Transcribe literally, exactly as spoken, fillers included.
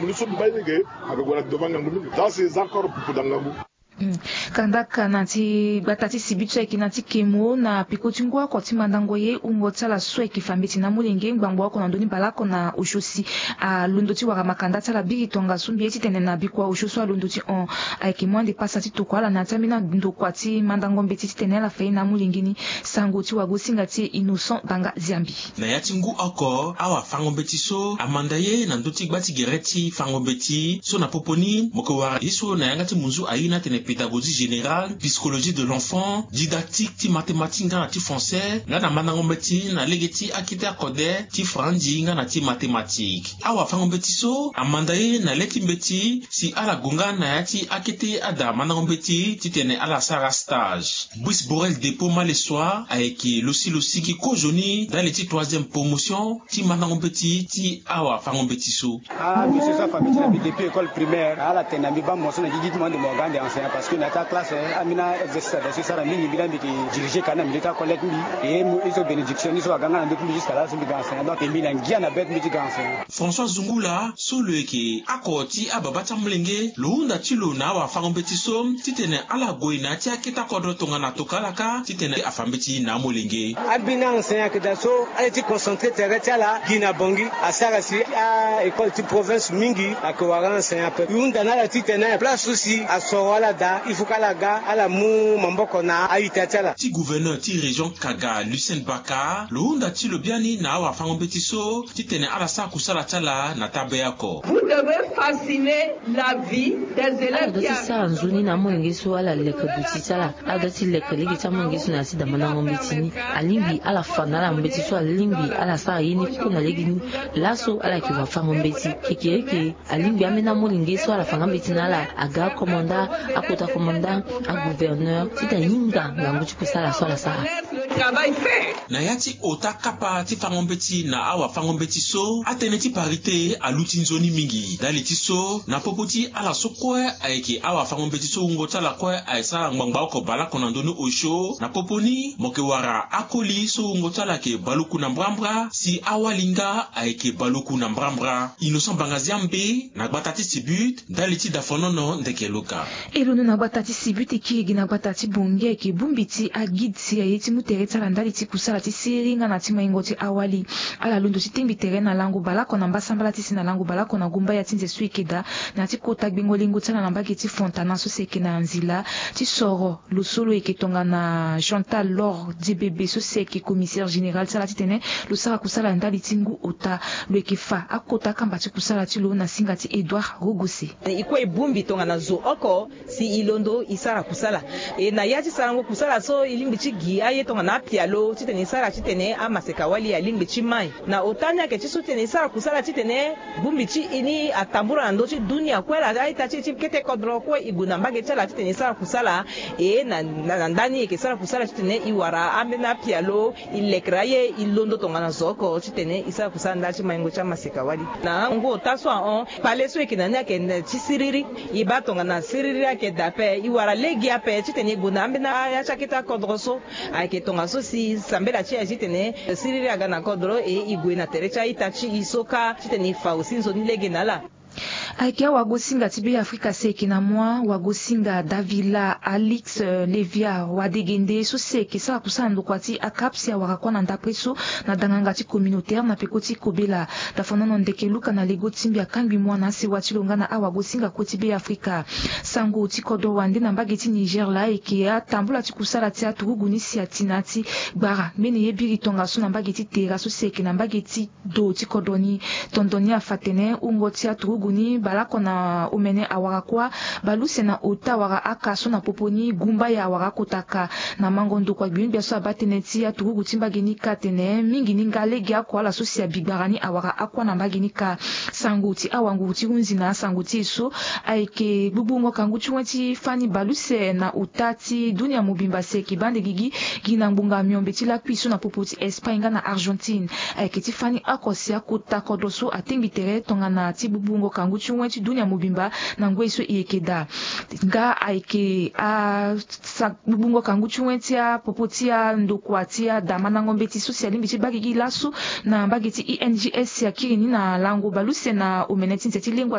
Mbi so mbi baa ye lege, aga gue na devant ngangu mingi. Za si za encore pupu da ngangu. Kandaka na ti gbata ti sibit so ayeke na ti kemo na peko ti ngu oko ti mandango ye wungo ti ala so ayeke fa mbeti na amolenge ngbangbo oko na ndoni baleoko na osio si alondo ti wara makanda ti ala biri tongaso mbi ye titene na bikua osio so alondo ti hon ayeke mu ande pasa ti tokua ala na ya ti ambeni andokua ti mandango mbeti titene ala fa ye na amolenge ni. Sango ti wagosinga ti e Innocent Banga Ziambi. Na ya ti ngu oko awafango-mbeti so amanda ye na ndö ti gba ti gere ti fango-mbeti so na popo ni mo yeke wara ye so na yanga ti munzu airi ni atene pédagogie générale, psychologie de l'enfant, didactique ti mathématique nga na ti français nga na mandango-mbeti na lege ti akete akode ti franzi nga na ti mathématique. Awafango-mbeti so amanda ye na le ti mbeti si ala gue nga na ya ti akete ada mandango-mbeti titene ala sara stage. Brice Borel Depot Malesoi ayeke lo si lo sigi kozoni ndali ti troisième promotion ti mandango-mbeti ti awafango-mbeti so. Ah, monsieur so afa mbeti na mbi depuis école primaire, ala tene na mbi baa mo so na gigi ti mo ande mo ga ande enseignant parce que na ya ti aclasse ambeni aexercice ada so e sara mingi mbi laa mbi yeke diriger kani na milieu ti acollecte mbi. E mo e so bénédiction ni so aga nga na ndö ti mbi jusqu'à là so mbi ga enseignant donc e mbi na ngia na be ti mbi ti ga enseignant. François Zungula so lo yeke oko ti ababa ti amolenge lo hunda ti lo na awafango-mbeti so titene ala gue na ya ti akete akodro tongana tokua ala kâ titene afa mbeti na amolenge. Ambeni aenseignant ayeke daa so ala ye ti concentré tere ti ala gi na Bangui asara si a-école ti province mingi ayeke wara aenseignant ape. E hunda na ala titene place so si asoro ala daa il faut que ala ga ala mu maboko na a-ita ti ala. Ti gouverneur ti région Kaga Lucien Baka lo hunda ti lo biani na awafango-mbeti so titene ala sara kusala ti ala na tabea oko. Vous devez fasciner la vie des élèves. Ala doit ti sara nzoni na amolenge so ala leke duti ti ala. Ala doit ti leke lege ti amolenge so na ya ti damandango mbeti ni. Alingbi ala fa na ala mbeti so alingbi ala sara ye ni kue na lege ni. Laso ala yeke wafango-mbeti kekereke. Alingbi ambeni amolenge so ala fa nga mbeti na ala aga akomanda, akota komanda, agouverneur titene ahinga ngangu ti kusala so ala sara. Na ya ti ota kapa ti fango-mbeti na awafango-mbeti so atënë ti parité aluti nzoni mingi ndali ti so na popo ti ala so kue ayeke awafango-mbeti so wungo ti ala kue ayeke sara ngbangba oko baleoko na ndoni osio na popo ni mo yeke wara akoli so wungo ti ala ayeke baluku na mbrambra si awali nga ayeke baluku na mbrambra. Innocent Banga Ziambe na gbata ti Sibut ndali ti Dafonono Ndeke Luka. E londo na gbata ti Sibut e kiri gi na gbata ti Bangui ayeke bongbi ti aguide si aye ti mu tere ti ala ndali ti kusala ti siriri nga na ti maingo ti awali. Ala londo ti tengbi tere na lango baleoko na mbasambala ti si na lango baleoko na gumbaya ti nze so e yeke daa na ya ti kota gbengo lingo ti ala na mbage ti Fontana so si ayeke na nzila ti soro. Lo so lo yeke tongana Chantal Laure Diebebe so si ayeke commissaire général ti ala titene lo sara kusala ndali ti ngu ota. Lo yeke fa akota kamba ti kusala ti lo na singa ti Edouard Rogose. E kue e bongbi tongana zo oko si e londo e sara kusala. E na ya ti sarango kusala so e lingbi ti gi aye tongana apialo titene e sara titene amaseka-wali alingbi ti mai. Na ota ni ayeke ti so titene e sara kusala titene bongbi ti e ni atambula na ndö ti dunia kue ala a-ita ti e ti kete kodro kue e gue na mbage ti ala titene e sara kusala. E na, na, na ndani e yeke sara kusala titene e wara ambeni apialo e lekere aye e londo tongana zo oko titene e sara kusala ndali ti maingo ti amaseka-wali. Na ngu ota so ahon kpale so e yeke na ni ayeke ti siriri. E baa tongana siriri ayeke daa ape e wara lege ape titene e gue na ambeni aya ti akete akodro so. Ayeke tongaso si sambela ti e aye titene siriri aga na kodro e e gue na tere ti a-ita ti e so kâ titene e fa aussi nzoni lege na ala. Ayeke awagosinga ti Beafrika si ayeke na moi wagosinga Davila Alix, eh, Levia Wadegende so si ayeke sara kusala na ndokua ti akap si awara kua na ndapre so na danganga ti communautaire na peko ti kobela. Dafonono Ndeke Luka na lego ti mbi akangbi moi na asewa ti lo nga na awagosinga kue ti Beafrika. Sango ti kodro wande na mbage ti Niger laa ayeke atambula ti kusala ti aturugu ni si ati na ya ti gbara mbeni ye biri tongaso na mbage ti Tera so si ayeke na mbage ti do ti kodro ni. Tondo ni afa atene wungo ti aturugu ni baleoko na omene awara kuâ. Baleuse na ota wara aka so na popo ni gumbaya awara akota ka. Na mango ndokua gbia ni gbia so abaa tënë ti aturugu ti mbage ni kâ atene mingi ni nga lege oko ala so si abi gbara ni awara akuâ na mbage ni kâ. Sango ti awanguru ti hunzi na asango ti e so ayeke gbugbungo kangu ti wen ti fani baleuse na ota ti dunia mobimba si ayeke baa ande gigi gi na ngbonga miombe ti lakui so na popo ti Espagne nga na Argentine. Ayeke ti fani oko si akota kodro so atengbi tere tongana ti gbugbungo kangu ti wen ti dunia mobimba na ngoi so e yeke daa. Nga ayeke a sa gbugbungo kangu ti wen ti apopo ti andokua ti adamandango mbeti so si alingbi ti baa gigi laso na mbage ti I N G S si akiri ni na lango baleuse na omene ti nze ti lengua.